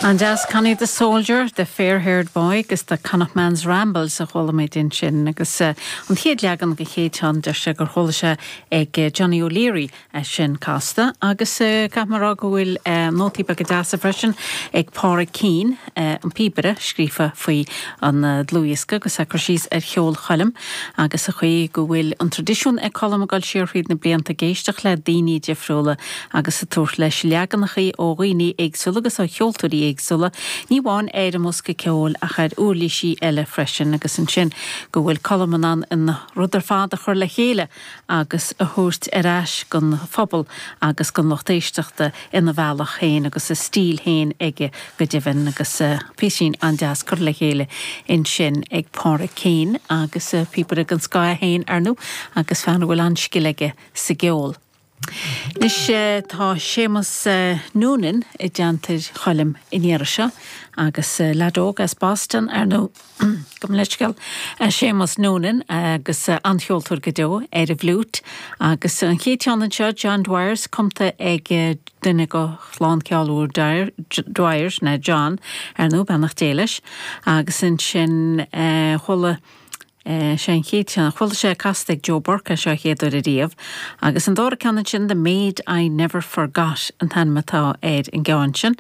An-deas, Connie the Soldier, The Fair Haired Boy agus The Connachtman's Rambles a chuala muid ansin agus an chéad leagan den chéad cheann deir sé gur chuala sé ag Johnny O'Leary é sin casta agus caithfidh mé a rá go bhfuil nótaí beaga deasa freisin ag Pádraig Keane, an píobaire, scríofa faoi an dlúthdhiosca agus é ag cur síos ar cheol Choilm agus an chaoi go bhfuil an traidisiún ag Colm ag dul siar thríd na blianta ag éisteacht le daoine difriúla agus ag tabhairt leis leaganachaí ó dhaoine éagsúla agus ó cheoltóirí éagsúla, ní amháin ar an mbosca ceoil ach ar uirlisí eile freisin agus ansin go bhfuil Colm in ann an rud ar fad a chur le chéile agus a thabhairt ar ais don phobal agus don lucht éisteachta ina bhealach féin agus a stíl féin aige go deimhin agus píosín an-deas curtha le chéile ansin ag Pádraig Keane agus píobaire den scoth é féin ar ndóigh agus fear a bhfuil an-scil aige sa gceol. Anois tá Séamus Noonan i dteannta Choilm an iarraidh seo agus leaid óg as Boston ar ndóigh, gabh mo leithscéal, Séamus Noonan agus an-cheoltóir go deo ar an bhfliúit agus an chéad cheann anseo, John Dwyers, cumtha ag duine de chlann ceoil úr Dwyers, ná John, ar ndóigh, beannacht Dé leis, agus ansin chuala. Sé an chéad cheann a chuala sé casta ag Joe Burke é seo a chéad uair ariamh. Agus an dara ceann ansin The Maid I Never Forgot an t-ainm atá ar an gceann sin.